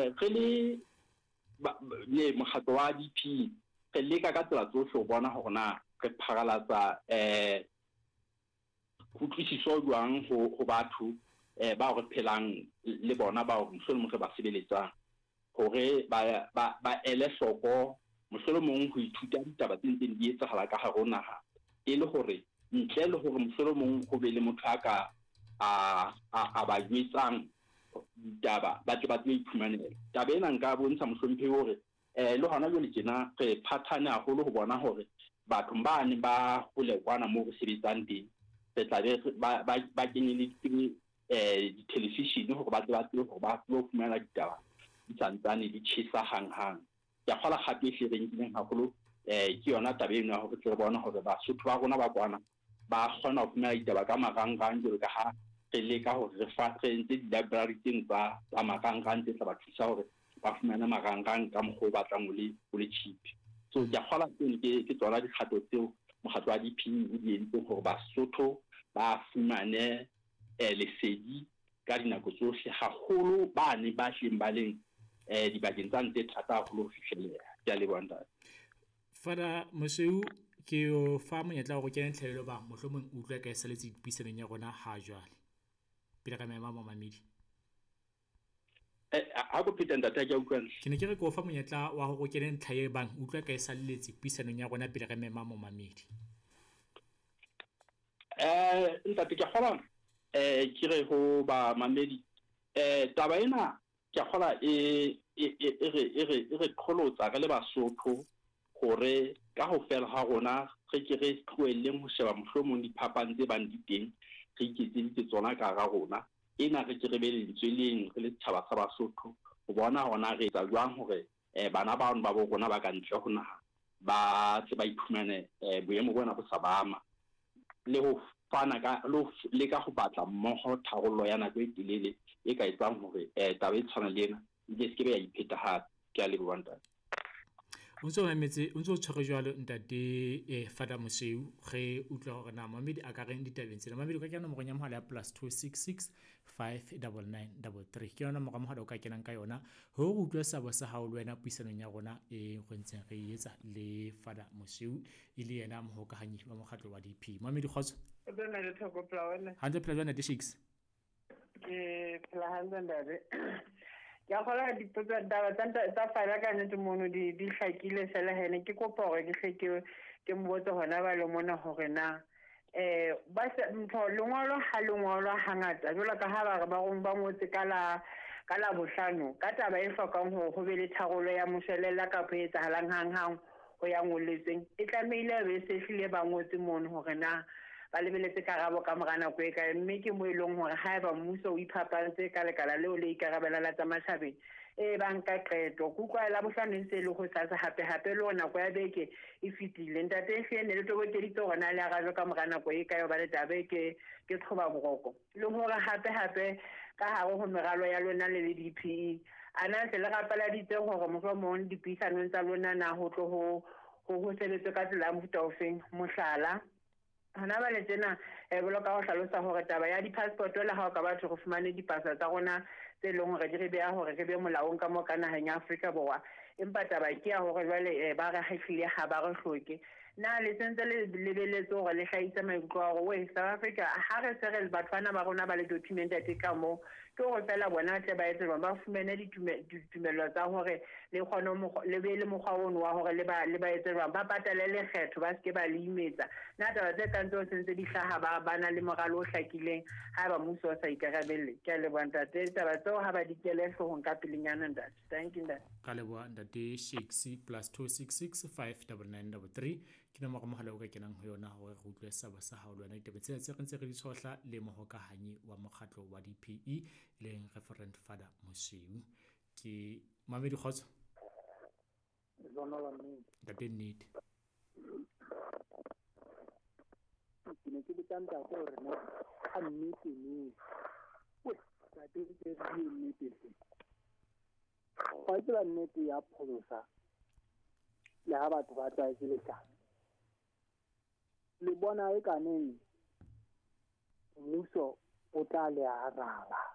Re le le mokgatlo wa DP re leka ka tsela tsohle ho bona hore na re pharalatsa kutlwisiso jwang ho batho bao re phelang le bona bao mohlolomong re ba sebeletsang hore ba ele hloko mohlolomong ho ithuta ditaba tse ntseng di etsahala ka hare ho naha e le hore ntle le hore mohlolomong ho be le motho a ka a ba jwetsang ditaba ba tle ba tsebe iphumanela. Taba ena nka bontsha mohlomphehi hore le hona jwale tjena re phathane haholo ho bona hore bathong ba neng ba hole kwana moo re sebetsang teng re tla be ba kenyeleditse dithelevishene hore ba tle ba tsebe hore ba tsebe ho fumana ditaba di santsane di tjhesa hanghang. Ke a kgola kgato e hle re nkileng haholo ke yona taba eno ya hore tle re bone hore Basotho ba rona ba kwana ba kgona ho fumana ditaba ka marangrang jwalo ka ha re leka hore re fa re entse di-library tseno tsa marangrang tse tla ba thusa hore ba fumane marangrang ka mokgwa o batlang o le o le cheap. So ke a kgola tseno ke tsona dikgato tseo mokgatlo wa DP o di entseng hore Basotho ba fumane lesedi ka dinako tsohle, haholo bane ba hleng ba leng dibakeng tsane tse thata haholo ho fihlelleha. Ke a leboha ntate. Father Mosweu, ke o fa monyetla wa hore o kene tlhaelo bang mohlomong o utlwa ka e saletse dipuisanong ya rona ha jwale. Pele re mema momamedi. Ha ko pheta ntate ha ke a utlwa. Ke ne ke re ke o fa monyetla wa hore o kene ntlha e bang utlwa ka e salletse puisanong ya rona pele re mema momamedi. Ntate ke kgola ke re ho ba mamedi taba ena ke kgola e re qholotsa re le Basotho hore ka ho fela ha rona re ke re tlohelleng ho sheba mohlomong diphapang tse bang di teng re iketseditse tsona ka hara rona. Ena re ke re be lentswe leng re le setjhaba sa Basotho ho bona hore na re etsa jwang hore bana bano ba bo rona ba ka ntle ho naha ba tle ba iphumane boemo bona bo sa ba ama le ho fana ka le ho leka ho batla mmoho tharollo ya nako e telele e ka etsang hore taba e tshwanang le ena e ke se ke be ya ipheta hape. Ke a leboha ntate. O ntso mametse, o ntso tshwere jwalo ntate Father Mosweu, re utlwa hore na mamedi a ka reng ditabeng tsena. Mamedi o ka kena nomorong ya mohala ya +266 599 33. Ke yona nomoro ya mohala o ka kenang ka yona hore o utlwe seabo sa hao le wena puisanong ya rona e re ntseng re e etsa le Father Mosweu e le yena mohokahanyi wa mokgatlo wa DP. Mamedi kgotso. Hantle phela jwang ntate Shakes? Ke phela hantle ntate. Ke a kgolwa dipotso taba tsa fana ka nnete mono di hlakile fela hene ke kopa hore ke hle ke mbotse hona ba le mona hore na ba ntho lengolo ha lengolo hangata jwalo ka ha ba re ba rong ba ngotse ka la bohlano ka taba e hlokang hore ho be le tharolo ya moshwelella kapa e etsahalang hanghang ho ya ngolletsweng e tlamehile be se hlile ba ngotse mono hore na ba lebeletse karabo ka mora nako e kae, mme ke mo e leng hore haeba mmuso o iphapantse ka lekala leo le ikarabela la tsa matjhabeng e ba nka qeto. Ke utlwa la bohlano e ntse e le ho sasa hape hape le hore nako ya beke e fetile. Ntate ehlile ne le tobokeditse hore na le arabe ka mora nako e kae hobane taba e ke qhoba boroko. Le hore hape hape ka hare ho meralo ya lona le le DPE a na se le rapeladitse hore mohlomong dipuisanong tsa lona na ho tlo ho sebetswe ka tsela ya mofuta ofeng. Mohlala hona bale tsena boloka ho hlalosa hore taba ya di-passport le ha o ka batho re fumane dipasa tsa rona tse leng hore di re beha hore re be molaong ka moo ka naheng ya Afrika Borwa, empa taba ke ya hore jwale ba re hahlile ha ba re hloke. Na le sentse le lebeletse hore le hlahise maikutlo a hore we South Africa ha re se re batho bana ba rona ba le documented ka moo, ke hore fela bona tle ba etse ba fumane ditumello tsa hore le kgone le be le mokgwa ono wa hore le ba etse jwang, ba patale lekgetho ba seke ba le imetsa. Na taba tse kang tseo sentse di hlaha ba na le moralo o hlakileng haeba mmuso o sa ikarabelle. Ke a leboha ntate, taba tseo ha ba di kele hloohong ka pelenyana ntate. Thank you ntate. Ka leboha ntate Shakes. +266 599 33 ke nomoro mohala o ka kenang ho yona hore re utlwe seabo sa hao le wena ditaba tsena tse re ntse re di tshohla le mohokahanyi wa mokgatlo wa DPE e leng Reverend Father Mosweu. Ke mamedi kgotso. Ntate nnete. Ke ne ke botsa ntate hore na ka nnete ne. Ntate ke re nnete. Wa tseba nnete ya pholosa le ha batho ba tlwaetse leshano. Le bona e kaneng mmuso o tla le araba.